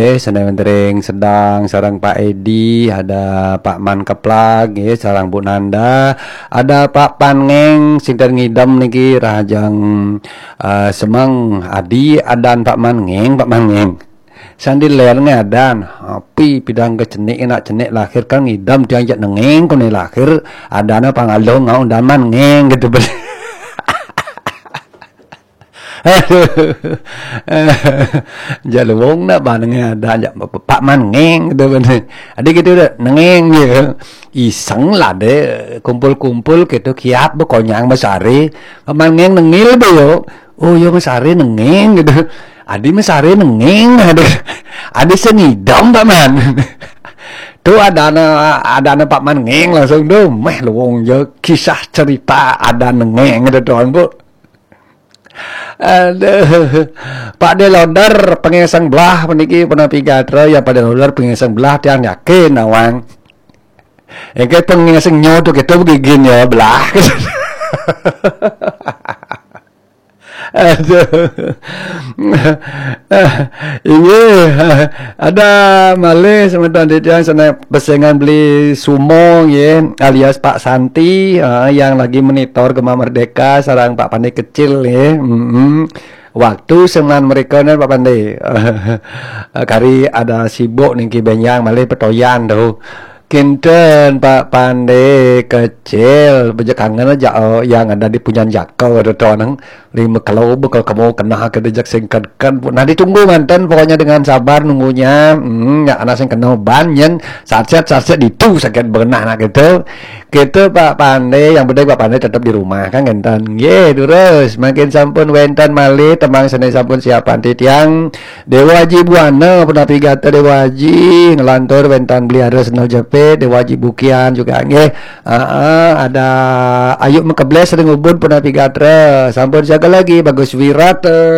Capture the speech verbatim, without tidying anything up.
Eh, seneng tering sedang sareng Pak Edi, ada Pak Man Keplag, nggih, sareng Bu Nanda, ada Pak Pan Ngeng, sinten ngidem niki rahajeng eh, semeng Adi adan Pak Man Ngeng, Pak Man Ngeng. Sandi ler ngadan, api pidang ke cenik, enak cenik lahir kan ngidem tiang jak nengeng kone lahir, adana pangalong ngau dan Man Ngeng gitu. Aduh. Jalung nak banenge ada jak Pak Man Ngeng gitu bener. Ada gitu dah nengeng gitu. Iseng lah deh kumpul-kumpul gitu kiap bekonyang besari. Pak Man Ngeng nengil be yo. Oh yo mesari nengeng gitu. Adi mesari nengeng ada. Adi sengidem Pak Man. Tuh ada anak ada anak Pak Man Ngeng langsung tuh meh luwung je kisah cerita ada nengeng gitu tuan bu. Aduh. Pak Deloder pengeseng belah peniki penapi gatra ya Pak Deloder pengeseng belah tiang yakin awang. Engke pengeseng nyo tu kita begigin ya belah. Aduh. Iya, ada malih semeton titiang sana pesengan beli sumo ya alias Pak Santi uh, yang lagi monitor Gema Merdeka sarang Pak Pandai kecil ya. Mm-mm. Waktu semen mereka ni Pak Pandai kari ada sibuk niki benyang malih petoyan tu. Kinten Pak Pandai kecil beja kangen aja oh, yang ada di punyan jakau ada tu nang lima kilo bekal kamu kena ke dejak singkatkan nah ditunggu mantan pokoknya dengan sabar nunggunya hmm, ya anak sing kena ban nyen satset satset ditu sakit benah nak gitu. Kita Pak Pandai yang penting Pak Pandai tetap di rumah kan ngenten. Ye terus makin sampun wenten malih temang seni sampun siapan titiang Dewa Haji Buana punapi gatra Dewa Haji ngelantur wenten beli ada sendal jepit Dewa Haji Bukian juga nggih. Aa, ada Ayu Mekebles ring ubun punapi gatra sampun siaga lagi Bagus Wirat